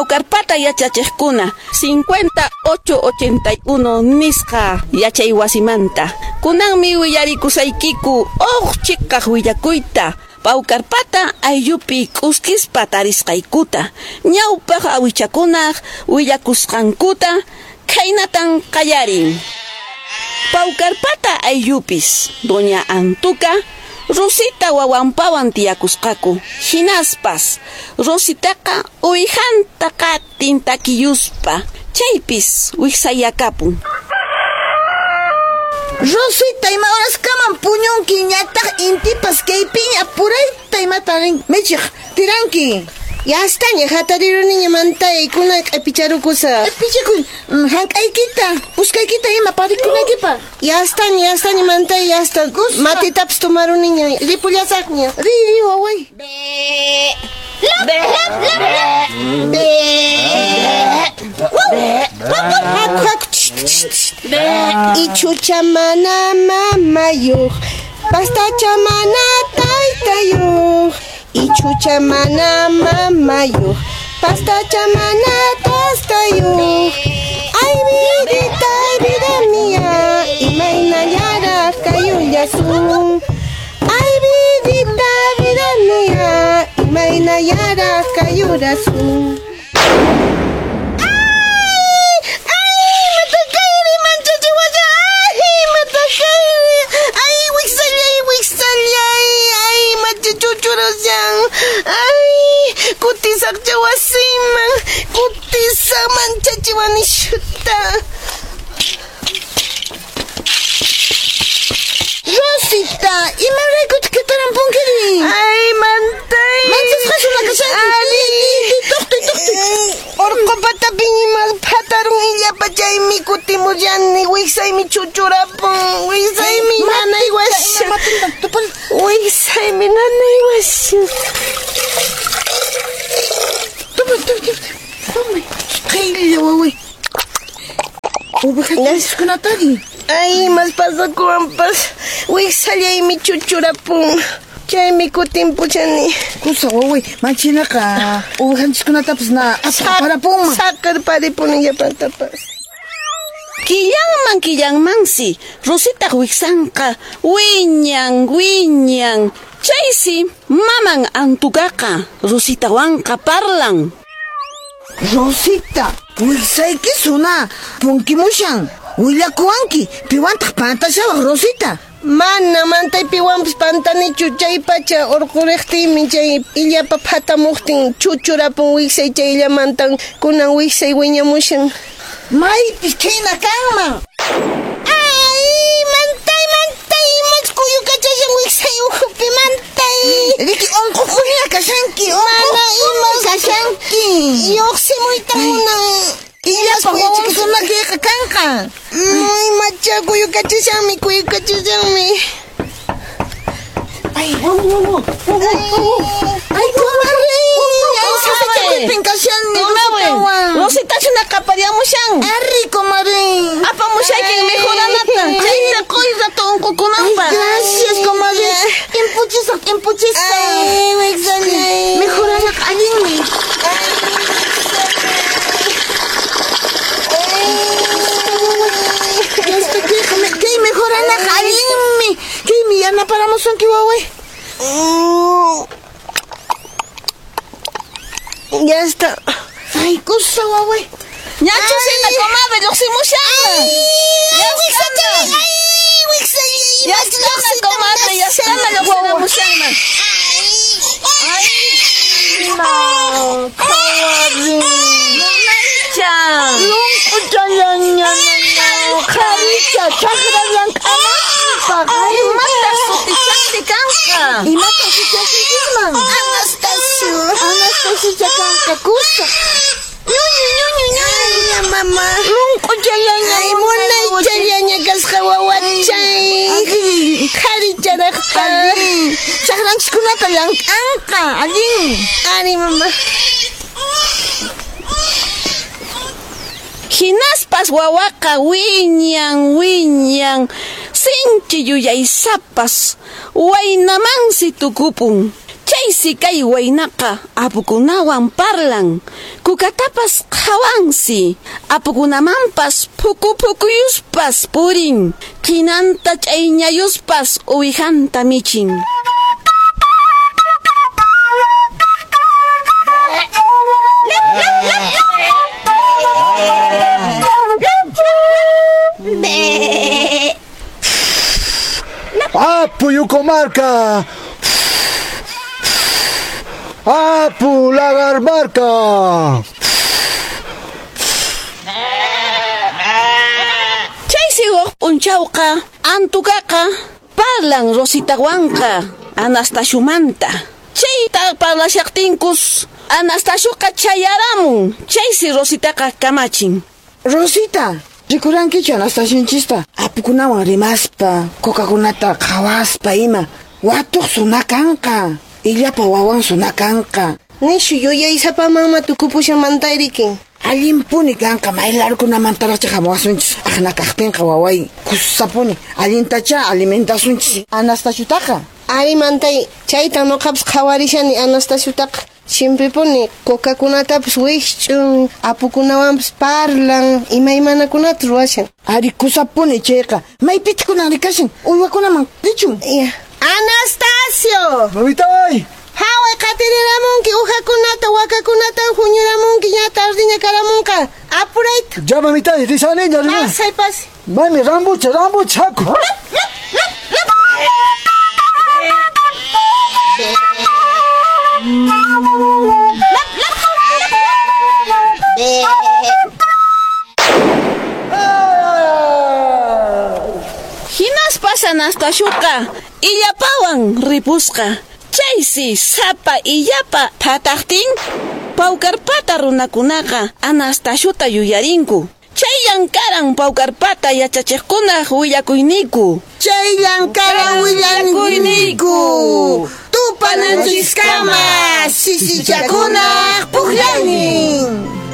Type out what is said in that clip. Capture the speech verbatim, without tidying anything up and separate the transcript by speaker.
Speaker 1: Paucarpata yachachiqkuna cincuenta ocho ochenta y uno nisqa yachay wasimanta. Kunanmi willarikusaykiku uq chiqaq willakuyta. Paucarpata ayllupi k'uskispa tarisqaykuta. Ñawpaq awichakunaq willakusqankuta khaynatan qallarin. Paucarpata ayllupis doña Antuka Rosita wawanpawan tiyakusqaku. Hinaspas Rositaqa uwihanta qatin takiyuspa chaypis wiksayakapun.
Speaker 2: Rosita, ima horaskaman puñunki ñataq intipas kaypiña purayta imata rin michiq tiranki.
Speaker 3: Yastaña hatariruniña mantay kuna q'ipicharukusaq.
Speaker 2: Q'ipichakuy hank'aykita, puskaykita ima parikunaykipaq.
Speaker 3: Yastaña, yastaña mantay, yasta. Matitapas tomaruniña, ripullasaqña.
Speaker 2: Ri, ri, waway.
Speaker 4: Be. Lap, lap, lap, lap.
Speaker 3: Be. Haku, haku. Ichucha mana mamayuq, pastacha mana taytayuq. Ichucha mana mamayuq, pastacha mana tastayuq. Ay vidita, ay vida mía, imaynallaraq kayullasun. Ay vidita, vida mía, imaynallaraq kayurasun. Ay, kutisaqcha wasiman, kutisaq manchachiwanishuta.
Speaker 2: Rosita, imaraykutaq katarampunkiri?
Speaker 3: Ay, mantay.
Speaker 2: Manchasqa kashanki.
Speaker 3: Ari,
Speaker 2: tuqtuy, tuqtuy.
Speaker 3: Urqu patapi imas phatarun illapa chaymi kutimullani, wiksaymi chuchurapun, wiksaymi nanaywashan. Wiksaymi nanaywashan.
Speaker 2: Toma, toma, toma. Qaylla waway. Uwijakunatari.
Speaker 3: Ay, mas pasakuwanpas wiksallaymi chuchurapun. Chaymi kutimpuchani.
Speaker 2: Kusa waway, manchinaqa uwijanchiskunatapas na aparapunman.
Speaker 3: Saqirparipuni llapantapas.
Speaker 1: Killanman killanmansi Rositaq wiksanqa wiñan wiñan. Chaysi maman Antukaqa Rositawanqa parlan.
Speaker 2: Rosita, wiksayki suna punkimushan. Willakuwanki, piwantaq pantashawaq Rosita.
Speaker 3: Mana mantay piwanpas pantanichu chay pacha urquriqtiymi chay illapa phatamuqtin chuchurapun wiksay chayllamantan kunan wiksay wiñamushan.
Speaker 2: Maypis khayna kanman.
Speaker 3: Ay, mantay, mantay, machkuyukachashan wiksay ukhupi mantay.
Speaker 2: Riki unquqhina kashanki,
Speaker 3: mana ima
Speaker 2: kashanki.
Speaker 3: Lluqsimuyta munan.
Speaker 2: Illapa wawankunakiyqa kanqa.
Speaker 3: Ay, macha kuyukachashanmi, kuyukachashanmi.
Speaker 2: Ay, waw, waw, waw, waw. Ay, comadre. Ay, sasachakuypin kashani, Rositawan.
Speaker 1: Rosita chuna qapariamushan.
Speaker 2: Arri, comadre.
Speaker 1: Apamushaykin mejoranata. Chayta quy rato unqukunanpaq.
Speaker 2: Gracias, comadre. Impuchisaq, impuchisaq.
Speaker 3: Ay, wiksallay.
Speaker 2: Mejoranaqa allinmi. Kay mejoranaqa allinmi. Kaymi yanaparamusunki, waway.
Speaker 3: Ya está.
Speaker 2: Ay, kusa, waway.
Speaker 1: Ñachu sina, comadre, lluqsimushanna.
Speaker 3: Ay, wiksallay, ay, wiksallay.
Speaker 1: Ya está, comadre, ya está, lluqsiramushanna.
Speaker 3: Ay,
Speaker 2: ma, comadre.
Speaker 1: Munaycha.
Speaker 2: Lunquchallaña, qharicha, chakra llank'ananpaq.
Speaker 1: Imataq sutichanti kanqa?
Speaker 2: Imataq sutichankisman?
Speaker 3: Anastasio.
Speaker 2: Anastasio kanqa, kusa.
Speaker 3: Ñuñu, ñuñu, ñuñu, mamá.
Speaker 2: Lunquchallaña,
Speaker 3: Ay, munaychallaña kasqa wawachay. Qharicharaqta.
Speaker 2: Chakranchiskunata llank'anqa, allin.
Speaker 3: Ari, mamá.
Speaker 1: Hinaspas wawaqa wiñan, wiñan, sinchi yuyaysapas, waynamansi tukupun. Chaysi kay waynaqa apukunawan parlan, Kukatapas qhawansi, apukunamanpas phuku phukuyuspas purin, qhinanta ch'ayñayuspas uwihanta michin.
Speaker 5: ¡Apu Yucomarca! ¡Apu Lagarmarca!
Speaker 1: Chaysi huk p'unchawqa Antukaqa parlan Rositawanqa Anastasiumanta. Chayta parlashaqtinkus Anastasiuqa chayaramun. Chaysi Rositaqa kamachin.
Speaker 2: Rosita, rikurankichu Anastasionchista apukunawan rimaspa, cocakunata qhawaspa ima. Watuq sunakanqa, illapa wawan sunakanqa.
Speaker 3: Nishu yuyaysapamanma tukupushan mantayriki.
Speaker 2: Allinpuni kanqa maylarkunamantaraqcha hamuwasunchis aqna kaqtinqa waway kusapuni allintacha alimentasunchis Anastasiutaqa.
Speaker 3: Ari mantay, chayta nuqapas qhawarishani Anastasiutaqa. Chimpipuni cocakunatapas wikch'un, apukunawanpas parlan, imaymanakunata ruwashan.
Speaker 2: Ari kusapuni chayqa, maypitaq kunan rikashan uywakunaman richun.
Speaker 3: Ya. Anastasio!
Speaker 5: ¡Mamitay!
Speaker 3: Haway qatiriramunki uhakunata, wakakunata huñuramunki ña tardiña karamunqa. Apurayta.
Speaker 5: Ya mamitay, risaniña, risani.
Speaker 3: Pasay, pasay.
Speaker 5: Mami, rambucha, rambucha, haku.
Speaker 1: Hinaspas Anastasiuqa illapawan ripusqa. Chaysi sapa illapa phataqtin Paucarpata runakunaqa Anastasiuta yuyarinku. Chayllan karan Paucarpata yachachiqkunaq willakuyniku.
Speaker 2: Chayllan karan willakuyniku. Tupananchiskama sisichakunaq puqllaynin.